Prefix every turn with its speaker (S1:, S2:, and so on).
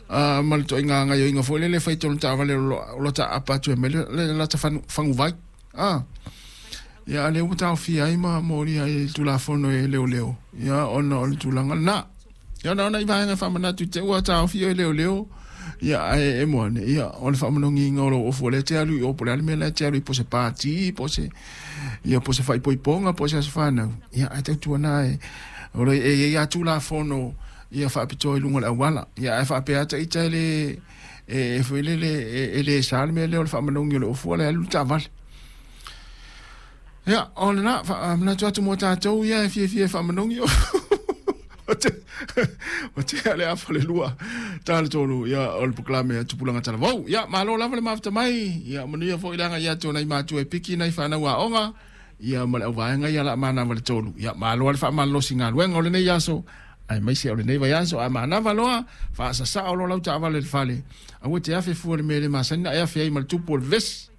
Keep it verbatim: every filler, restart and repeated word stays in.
S1: A ma le toaiga gaoioiga foi lele e fai i totonu o taavale o lo taapa atu ai ma le lata faguvai. A ia, a lea ua taofia ai ma molia ai le Tulafono e leoleo, ia, ona o le tulaga lena. Ia, ona ona i vaega e faamanatu i te ua taofia e leoleo, ia, ae e moane, ia, o le faamanogiga o lou ofu o lea e te alu i o, po o le a le mea la e te alu i, po o se pati, po o se, ia, po o se faaipoipoga, po o se aso fanau, ia, ae tautuana e, o le, e i ai lava Tulafono ia faapitoa i luga o le auala. Ia, ae faapea ata ita e le, e, e foi lele, e, e le sa le mea lea o le faamanogi o le ofu ala e alu le taavale. Ia, o lena, faamanatu atu mo tatou ia e fiafia e faamanogi o te, o te ale afa le lua, ta le tolu, ia, o le polokalame a Tupulaga Talavou. Ia, malo lava le mafuta mai, ia, manuia foi le agai atu o nai matua e piki nai fanau aoga, ia, ma le auvaega ia la manava le tolu. Ia, malo le faamalolosi galuega o lenei aso, aemaise o lenei vaiaso, a manava loa, faasasao loa lau taavale i le fale. Aua te afe fua i le mea e le masani ona e afe ai ma le tupu o le vevesi.